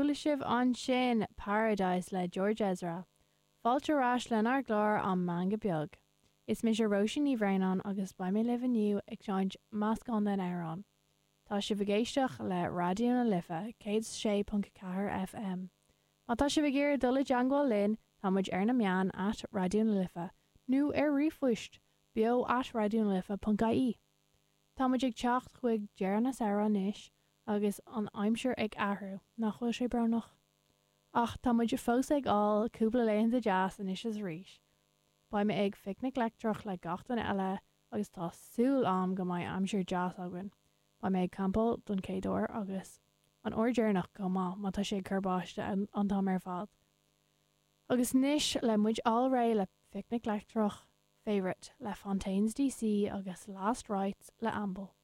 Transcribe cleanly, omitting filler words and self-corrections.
Chuala sibh ansin Paradise le George Ezra. Fáilte ar ais lenár gclár An Meangadh Beag. Is mise Róisín Ní Bhraonáin agus beidh mé libh inniu ag seinnt meascán den amhrán. Tá sibh ag éisteacht le Raidió na Life 106.4 FM. Má tá sibh ag iarraidh dul i dteangmháil linn, tá muid ar na meáin at Raidió na Life nó ar ríomhphost beo at raidionalife.ie. Tá muid ag teacht chuig deireadh na samhradh anois agus an aimsir ag athrú, nach bhfuil sé brónach? Ach tá muid fós ag fháil cúpla laethanta deas anois is arís. Beidh mé ag Phicnic Leictreach le gach duine eile agus tá súil a'm go mbeidh aimsir deas againn. Beidh mé ag campáil don chéad uair agus an uair deireanach chomh maith má tá sé ag cur báiste an t-am ar fad. Agus anois le muid fháil réidh le Phicnic Leictreach, Favourite le Fontaines DC agus Last Rites le Amble.